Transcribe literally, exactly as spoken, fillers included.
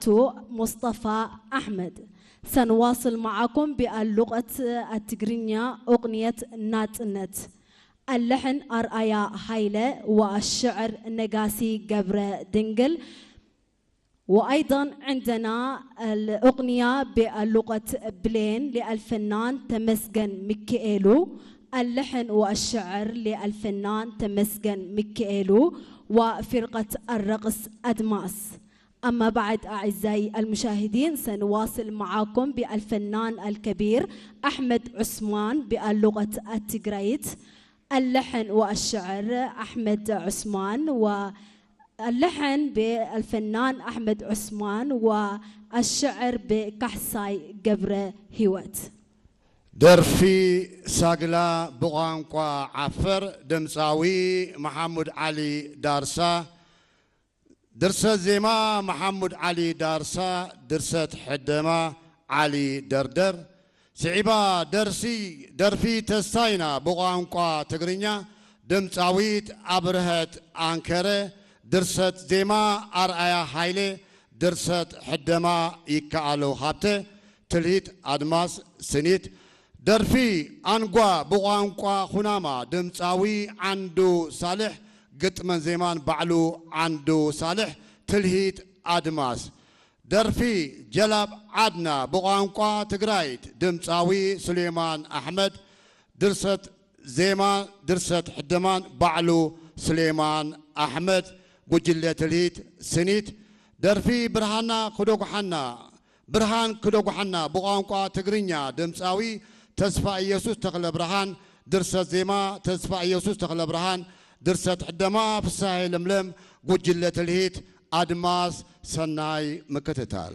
ቱ ሙስጠፋ አሕመድ። ሰንዋስል መዓኩም ቢአሉቀት አትግርኛ ኡቅንየት ናጽነት። አለሕን አርአያ ሀይለ ወአሽዕር ነጋሲ ገብረ ድንግል። وأيضًا عندنا الأغنية باللغة بلين للفنان تمسجن ميكائيلو، اللحن والشعر للفنان تمسجن ميكائيلو وفرقة الرقص أدماس. أما بعد أعزائي المشاهدين سنواصل معاكم بالفنان الكبير أحمد عثمان باللغة التجريت، اللحن والشعر أحمد عثمان و اللحن بالفنان أحمد عثمان والشعر بكحساي قبر هيوت. ደርፊ ሳግላ ብቋንቋ ዓፈር፣ ድምጻዊ መሐሙድ ዓሊ ዳርሳ፣ ድርሰት ዜማ መሐሙድ ዓሊ ዳርሳ፣ ድርሰት ሕደማ ዓሊ ደርደር፣ ስዒባ ደርሲ፣ ደርፊ ተስፋይና ብቋንቋ ትግርኛ፣ ድምጻዊት ኣብርሀት ኣንከረ፣ ድርሰት ዜማ ኣርኣያ ሃይለ፣ ድርሰት ሕደማ ይከኣለው ሃብተ፣ ትልሂት ኣድማስ ስኒት፣ ደርፊ ኣንጓ ብቋንቋ ኩናማ፣ ድምጻዊ ዓንዱ ሳልሕ፣ ግጥመን ዜማን ባዕሉ ዓንዱ ሳልሕ፣ ትልሂት ኣድማስ። ደርፊ ጀላብ ዓድና ብቋንቋ ትግራይት፣ ድምጻዊ ሱሌማን ኣሕመድ፣ ድርሰት ዜማ፣ ድርሰት ሕደማን ባዕሉ ሱሌማን ኣሕመድ፣ ጉጅለ ትልሂት ስኒት። ደርፊ ብርሃና ክደጉሓና፣ ብርሃን ክደጉሓና ብቋንቋ ትግርኛ፣ ድምጻዊ ተስፋ ኢየሱስ ተክለ ብርሃን፣ ድርሰት ዜማ ተስፋ ኢየሱስ ተክለ ብርሃን፣ ድርሰት ሕደማ ፍስሃየ ለምለም፣ ጉጅለ ትልሂት ኣድማስ። ሰናይ ምክትታል።